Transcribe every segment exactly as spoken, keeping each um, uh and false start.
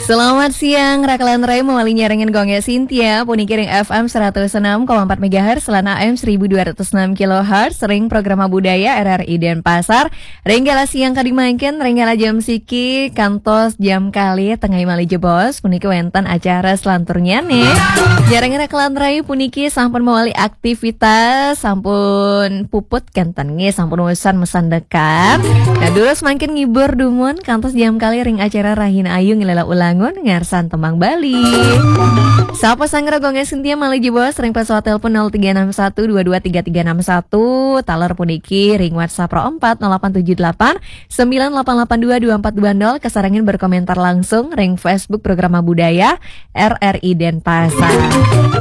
Selamat siang, Raka lan Rai, mawali nyarengin Gung Gé Cynthia, puniki ring F M seratus enam koma empat megahertz lan A M seribu dua ratus enam kilohertz, ring Programa Budaya R R I Denpasar, ring galah siang kadi mangkin, ring galah jam siki, kantos jam kalih tengah malih jebos, puniki wénten acara selanturnyané. Nyarengin Raka lan Rai puniki sampun mawali aktivitas, sampun puput kénten nggih, sampun usan mesandekan. Nah, durus mangkin ngibur dumun, kantos jam kalih ring acara Rahina Ayu ngilela ulangun ngarsan tembang Bali. Sapa sanggra Gung Gé Cynthia malih jebos ring pesawat telepon nol tiga enam satu dua dua tiga tiga enam satu, taler puniki ring WhatsApp nol empat nol delapan tujuh delapan sembilan delapan delapan dua dua empat dua nol, kasarengin berkomentar langsung ring Facebook Programa Budaya R R I Denpasar.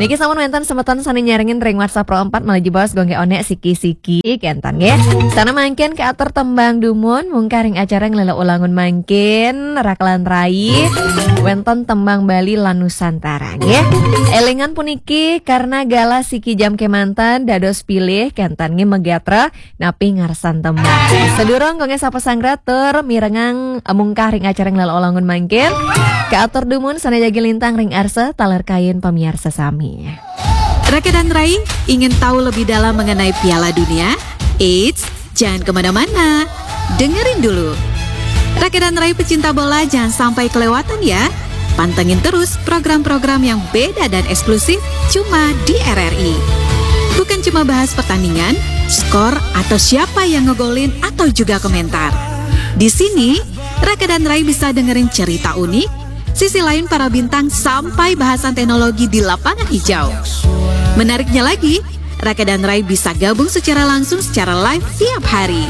Niki sampun wénten semeton sané nyarengin ring WhatsApp nol empat malih jebos Gung Gé onék siki-siki kénten nggih. Sané mangkin katur tembang dumun mungkah ring acara ngelela ulangun mangkin, Raka lan Rai. Wénten tembang Bali lan Nusantara nggih. Élingan puniki karena galah siki jam kémanten dados pilih kénten nggih, megatra napi ngarsan tembang. Sadurung Gung Gé sapa sanggra tur mirengang mungkah ring acara ngelela ulangun mangkin, katur dumun sané jagi lintang ring arsa taler kayun pamiarsa sami. Raka dan Rai, ingin tahu lebih dalam mengenai Piala Dunia? Eits, jangan kemana-mana. Dengerin dulu. Raka dan Rai pecinta bola, jangan sampai kelewatan ya. Pantengin terus program-program yang beda dan eksklusif cuma di R R I. Bukan cuma bahas pertandingan, skor, atau siapa yang ngegolin, atau juga komentar. Di sini, Raka dan Rai bisa dengerin cerita unik, sisi lain para bintang, sampai bahasan teknologi di lapangan hijau. Menariknya lagi, Raka dan Rai bisa gabung secara langsung secara live tiap hari.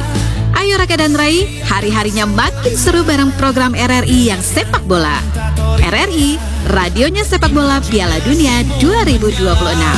Ayo Raka dan Rai, hari-harinya makin seru bareng program R R I yang sepak bola. R R I, radionya sepak bola Piala Dunia dua ribu dua puluh enam.